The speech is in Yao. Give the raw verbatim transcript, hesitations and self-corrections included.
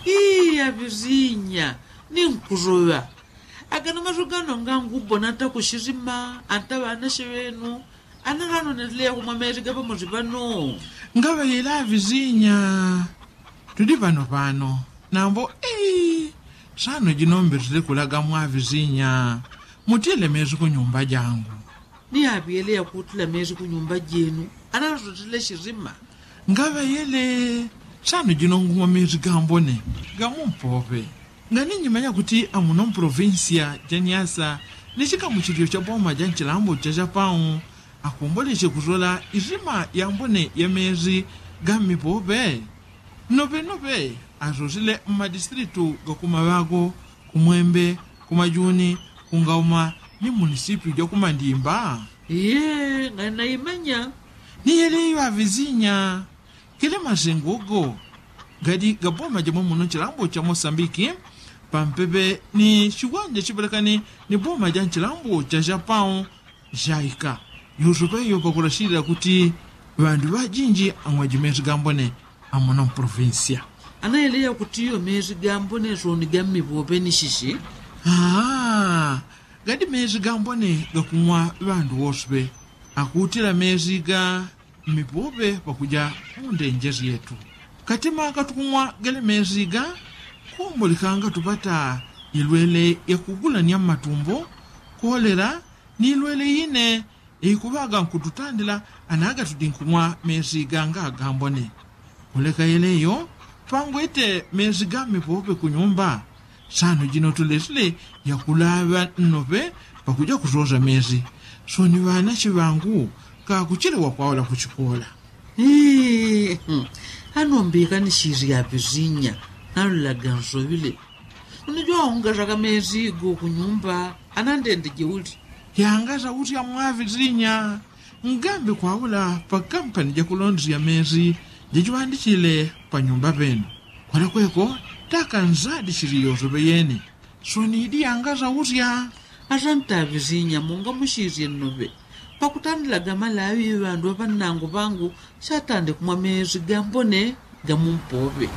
Ii avizinya, ni nkusoŵa. Agano maso gano ngangu bona ata kusisima ata ŵanashe ŵenu, ana ŵanoneleya kumwa mezi gapamosi ŵano. Ngaŵayela avizinya, tudi ŵano ŵano. Nambo ii, sano jino mbetele kulaga mwa avizinya, mutile mezi kunyumba jangu. Ni aŵyele yakutila mezi kunyumba jenu, ana ŵasotele sisima. Ngaŵayele, sano jino ngumwa mezi gambone, gamumpoŵe. Ngani nyimanya kuti amuno mprovinsia ja nyasa, ni chikamuchililo cha boma ja nchilambo cha chapau, akomboleche kusola isima yambone ya mezi gammipoŵe. Noŵenoŵe asosile mmadistritu gakumaŵago, kumwembe, kumajuni, kungauma, ni munisipiu jakumandimba. Ye ngani naimanya. Ni yele iyo avizinya. Kile masengo go gadi gaboma jamwe muno nchilambo cha mosambiki, pampepe ni chiwanja chiŵelekani ni boma ja nchilambo cha chapau, jaika yusupe iyo pakulashilila kuti ŵandu ŵajinji ang'waji mezi gambone amuno mprovinsia. Anayeleya kuti iyo mezi gambone soni gammipoŵe ni shishi. Aa, gadi mezi gambone gakung'wa ŵandu wosuŵe, akutila mezi ga mmipoŵe pakuja mundenje syetu. Katima katukumwa gele mezi ga, kumbulikanga tupata ilwele yakugulanya mmatumbo, kolela, ni ilwele ine ikuŵaga nkututandila anaga tudinkumwa mezi ganga gambone. Kuleka yeleyo, pangwete mezi gammipoŵe kunyumba, sano jino tulesile yakulaŵa nnoŵe pakuja kusosa mezi. Soni ŵanache ŵangu kakuchile wakwaula kuchikola. Ii, anombika ni shiri ya vizinya, nalulaga nsoŵile. Unijwa ungasaka mezi go kunyumba, anandendeje uli. Yangasa usya mwa vizinya. Ngambi kwaula pa kampani jakulondesya mezi jachiŵandichile panyumba penu. Kwalekweko taka nzadi chili yosoŵe yene. Soni idi yangasa usya. Asanta avizinya munga musisye nnoŵe. Pakutandilaga malaŵi ŵandu ŵaŵanangu ŵangu satande kumwa mezi gambone gamumpoŵe.